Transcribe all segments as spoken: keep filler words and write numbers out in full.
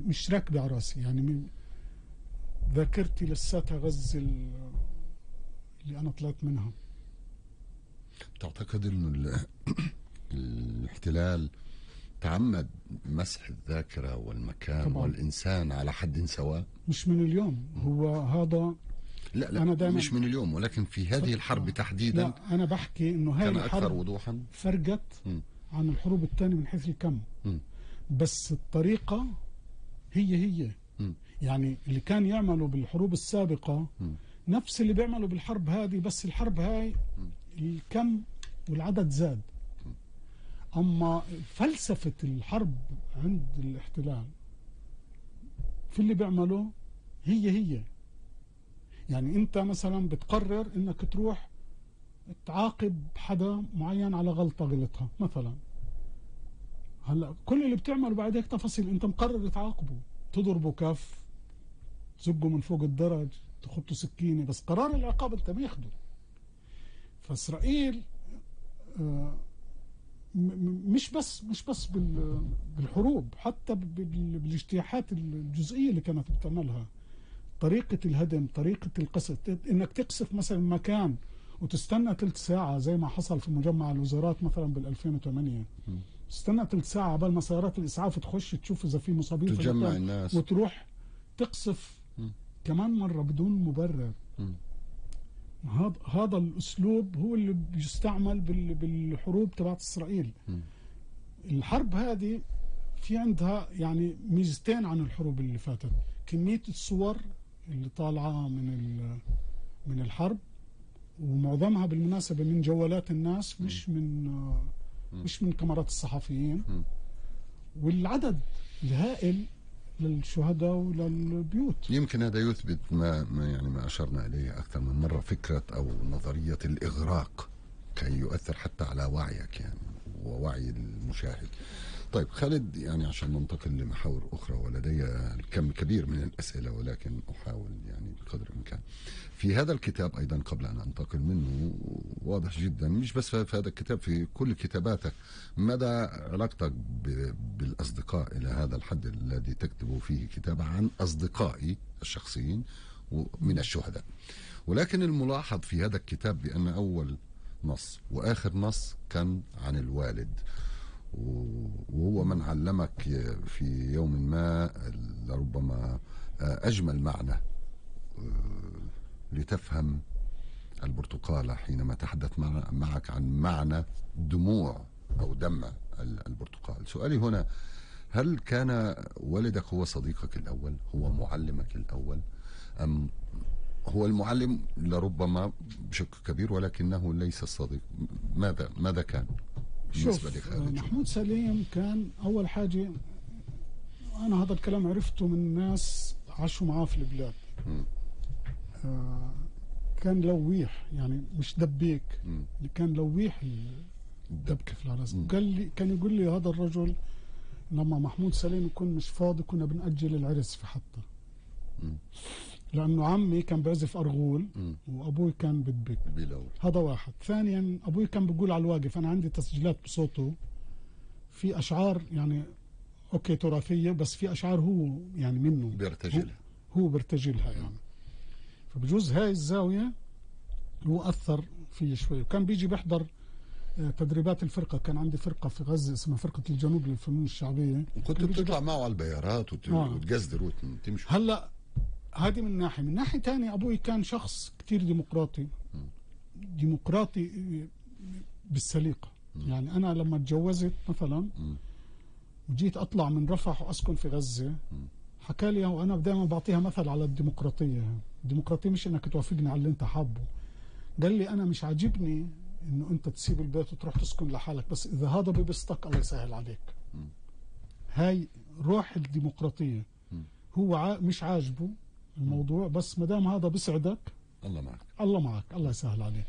مش راكبة على راسي، يعني من ذاكرتي لساتها غزة اللي أنا طلعت منها. تعتقد إنه الاحتلال تعمد مسح الذاكرة والمكان طبعا. والإنسان على حد سواء؟ مش من اليوم، هو هذا لا لا أنا مش من اليوم، ولكن في هذه الحرب تحديدا. لا أنا بحكي إنه هاي الحرب وضوحا فرقت م. عن الحروب الثانية من حيث الكم م. بس الطريقة هي هي م. يعني اللي كان يعملوا بالحروب السابقة م. نفس اللي بيعملوا بالحرب هذه، بس الحرب هاي م. الكم والعدد زاد. م. أما فلسفة الحرب عند الاحتلال في اللي بيعملوا هي هي، يعني انت مثلا بتقرر انك تروح تعاقب حدا معين على غلطة غلطها مثلا، هلا كل اللي بتعمله بعد هيك تفاصيل، انت مقرر تعاقبه، تضربه كف، تزقه من فوق الدرج، تخطه سكينة، بس قرار العقاب انت بياخده. فاسرائيل آه مش بس مش بس بالحروب، حتى بالاجتياحات الجزئية اللي كانت بتعملها، طريقة الهدم، طريقة القصف، انك تقصف مثلا مكان وتستنى ثلث ساعة زي ما حصل في مجمع الوزارات مثلا بال ألفين وثمانية، تستنى ثلث ساعة قبل ما سيارات الإسعاف تخش تشوف إذا في مصابين، تجمع الناس وتروح تقصف م. كمان مرة بدون مبرر. هذا هذا الأسلوب هو اللي بيستعمل بالحروب تبعت إسرائيل. م. الحرب هذه في عندها يعني ميزتين عن الحروب اللي فاتت، كمية الصور اللي طالعة من من الحرب، ومعظمها بالمناسبة من جوالات الناس، مش من مش من كاميرات الصحفيين، والعدد الهائل للشهداء وللبيوت. يمكن هذا يثبت ما, ما يعني ما أشرنا إليه أكثر من مرة، فكرة أو نظرية الإغراق كي يؤثر حتى على وعيك يعني ووعي المشاهد. طيب خالد، يعني عشان ننتقل لمحاور أخرى ولدي الكم كبير من الأسئلة، ولكن أحاول يعني بقدر الإمكان. في هذا الكتاب أيضا قبل أن أنتقل منه، واضح جدا مش بس في هذا الكتاب، في كل كتاباتك مدى علاقتك بالأصدقاء إلى هذا الحد الذي تكتب فيه كتاب عن أصدقائي الشخصيين من الشهداء. ولكن الملاحظ في هذا الكتاب بأن أول نص وآخر نص كان عن الوالد، وهو من علمك في يوم ما لربما أجمل معنى لتفهم البرتقالة حينما تحدث معك عن معنى دموع أو دمع البرتقال. سؤالي هنا، هل كان والدك هو صديقك الأول، هو معلمك الأول، أم هو المعلم لربما بشكل كبير ولكنه ليس الصديق؟ ماذا ماذا كان؟ شوف، محمود سليم كان أول حاجة، أنا هذا الكلام عرفته من ناس عاشوا معاه في البلاد. آه كان لويح، يعني مش دبيك، م. كان لويح الدبكة في العرس. قال لي، كان يقول لي هذا الرجل لما محمود سليم يكون مش فاضي كنا بنأجل العرس في حطة، م. لأنه عمي كان بيعزف أرغول م. وأبوي كان بدبك. هذا واحد. ثانيا أبوي كان بيقول على الواقف، أنا عندي تسجيلات بصوته في أشعار يعني أوكي تراثية، بس في أشعار هو يعني منه بيرتجلها، هو, هو بيرتجلها يعني. فبجوز هاي الزاوية هو أثر فيه شوي. وكان بيجي بيحضر تدريبات الفرقة، كان عندي فرقة في غزة اسمها فرقة الجنوب للفنون الشعبية، وكنت بتطلع معه على البيارات وت... آه. وتقزدر وتمشي. هلا هذه من ناحية. من ناحية تانية أبوي كان شخص كتير ديمقراطي، م. ديمقراطي بالسليقة. م. يعني أنا لما اتجوزت مثلا م. وجيت أطلع من رفح وأسكن في غزة، حكى لي، وأنا دائما بعطيها مثل على الديمقراطية، الديمقراطية مش إنك توافقني على اللي أنت حابه. قال لي أنا مش عاجبني إنه أنت تسيب البيت وتروح تسكن لحالك، بس إذا هذا ببسطك الله يسهل عليك. م. هاي روح الديمقراطية. م. هو ع... مش عاجبه الموضوع، بس ما دام هذا بيسعدك الله معك، الله معك، الله يسهل عليك.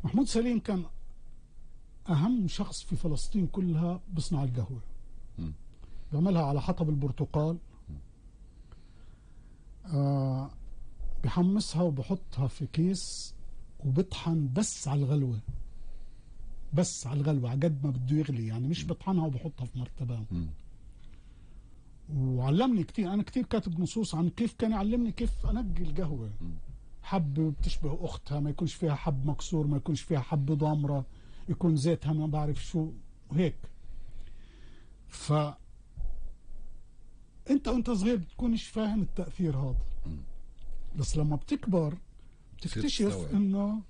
محمود سليم كان أهم شخص في فلسطين كلها بصنع القهوة، م. بيعملها على حطب البرتقال، آه بحمصها وبحطها في كيس وبطحن بس على الغلوة، بس على الغلوة على قد ما بده يغلي، يعني مش بطحنها وبحطها في مرتبة. و... وعلمني كتير. أنا كتير كاتب نصوص عن كيف كان يعلمني كيف أنقي القهوة. حب بتشبه أختها، ما يكونش فيها حب مكسور، ما يكونش فيها حب ضامرة، يكون زيتها ما بعرف شو وهيك. ف أنت وأنت صغير بتكونش فاهم التأثير هذا، بس لما بتكبر بتكتشف إنه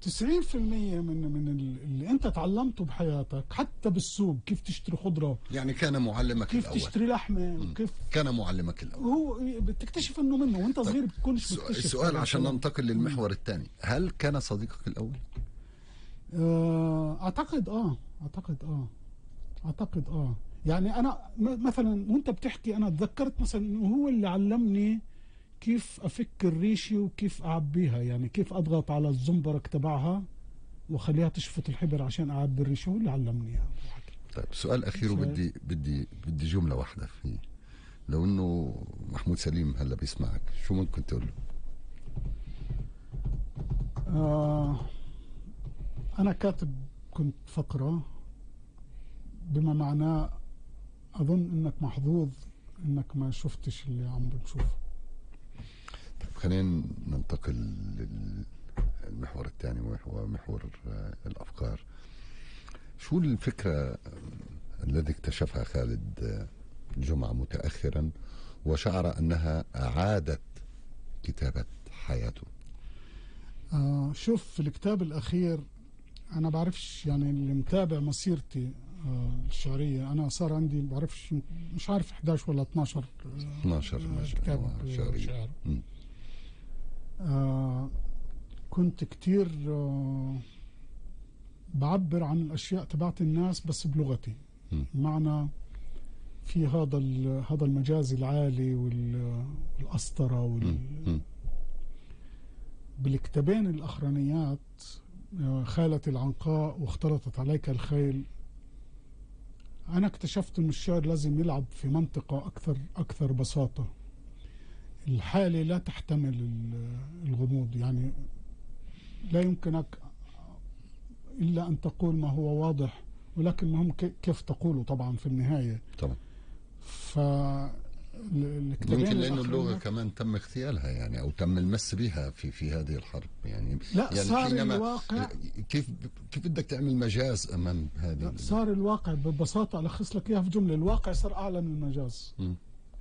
تسعين في المية من من اللي انت تعلمته بحياتك، حتى بالسوق كيف تشتري خضره، يعني كان معلمك كيف الاول، كيف تشتري لحمه، كيف كان معلمك الاول. هو بتكتشف انه منه وانت صغير بتكونش مكتشف. السؤال عشان ننتقل للمحور الثاني، هل كان صديقك الاول؟ اعتقد اه اعتقد اه اعتقد اه يعني انا مثلا وانت بتحكي انا تذكرت مثلا انه هو اللي علمني كيف افك الريشه وكيف اعبيها، يعني كيف اضغط على الزنبرك تبعها واخليها تشفط الحبر عشان اعبي الريشه، هو اللي علمني اياها. طيب سؤال اخير، وبدي بدي بدي جمله واحده فيه، لو انه محمود سليم هلا بيسمعك شو ممكن تقول له؟ آه انا كاتب كنت فقره بما معناه اظن انك محظوظ انك ما شفتش اللي عم بنشوفه. طيب خلينا ننتقل للمحور الثاني وهو محور الافكار. شو الفكره الذي اكتشفها خالد جمعة متاخرا وشعر انها اعادت كتابه حياته؟ آه شوف في الكتاب الاخير انا بعرفش، يعني اللي متابع مسيرتي آه الشعريه انا صار عندي بعرفش مش عارف إحدى عشر ولا اثناشر اثناشر آه كتاب شعري. شعر. آه كنت كتير آه بعبر عن الاشياء تبعت الناس بس بلغتي، معنى في هذا هذا المجاز العالي والاسطره وال بالكتابين الاخرانيات خالتي العنقاء واختلطت عليك الخيل، انا اكتشفت ان الشعر لازم يلعب في منطقه اكثر اكثر بساطه. الحاله لا تحتمل الغموض، يعني لا يمكنك الا ان تقول ما هو واضح، ولكن المهم كيف تقوله طبعا في النهايه. طبعا. ف يمكن لانه اللغه كمان تم اغتيالها يعني او تم المس بها في في هذه الحرب يعني. لا يعني صار الواقع كيف كيف بدك تعمل مجاز امام هذه؟ صار الواقع ببساطه الخص لك اياها في جمله، الواقع صار اعلى من المجاز. م.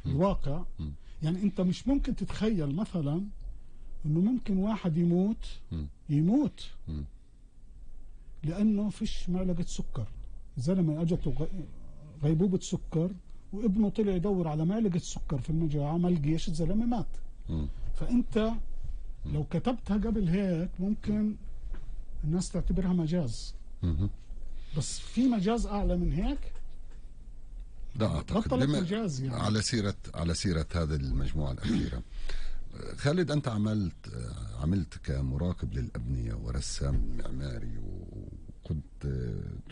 الواقع م. يعني انت مش ممكن تتخيل مثلا انه ممكن واحد يموت م. يموت م. لانه فيش معلقه سكر. زلمه اجته غيبوبه سكر وابنه طلع يدور على معلقه سكر في المجاعه ما لقيش، الزلمه مات. م. فانت لو كتبتها قبل هيك ممكن الناس تعتبرها مجاز. م. بس في مجاز اعلى من هيك؟ لا اعتقد. مجاز يعني. على سيره على سيره هذه المجموعه الاخيره، خالد انت عملت عملت كمراقب للابنيه ورسام معماري، وكنت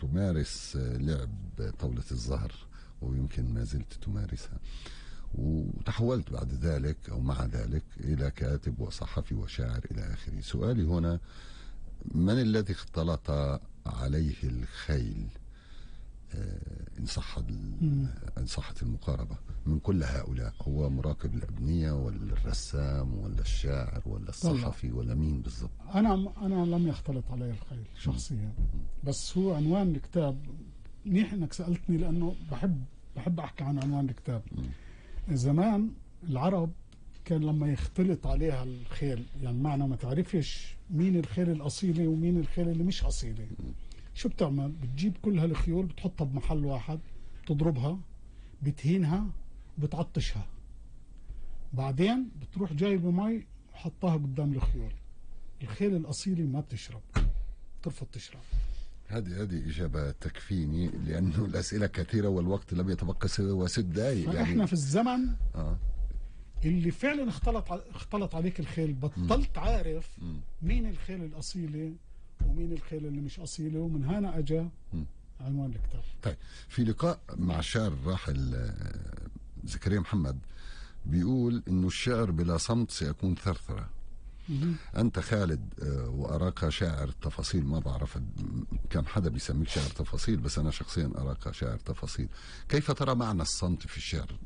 تمارس لعب طاوله الزهر ويمكن ما زلت تمارسها، وتحولت بعد ذلك أو مع ذلك إلى كاتب وصحفي وشاعر إلى آخره. سؤالي هنا، من الذي اختلط عليه الخيل إن صح إن صحت المقاربة من كل هؤلاء؟ هو مراقب الأبنية ولا الرسام ولا الشاعر ولا الصحفي ولا مين بالضبط؟ أنا أنا لم يختلط علي الخيل شخصيا، بس هو عنوان الكتاب منيح انك سالتني لانه بحب بحب احكي عن عنوان الكتاب. زمان العرب كان لما يختلط عليها الخيل، يعني معنى ما تعرفش مين الخيل الاصيله ومين الخيل اللي مش اصيله، شو بتعمل؟ بتجيب كل هالخيول بتحطها بمحل واحد، بتضربها، بتهينها، بتعطشها، بعدين بتروح جايبه مي وحطها قدام الخيول. الخيل الاصيله ما بتشرب، بترفض تشرب. هذه هذه إجابة تكفيني لأنه الأسئلة كثيرة والوقت لم يتبقى سوى ست دقائق. فإحنا يعني في الزمن آه. اللي فعلا اختلط اختلط عليك الخيل، بطلت م. عارف م. مين الخيل الأصيلة ومين الخيل اللي مش أصيلة، ومن هنا أجا م. عنوان الكتاب. طيب في لقاء مع الشاعر الراحل زكريا محمد بيقول إنه الشعر بلا صمت سيكون ثرثرة. أنت خالد وأراك شاعر تفاصيل، ما بعرف كم حدا بيسميك شاعر تفاصيل، بس أنا شخصيا أراك شاعر تفاصيل. كيف ترى معنى الصمت في الشعر؟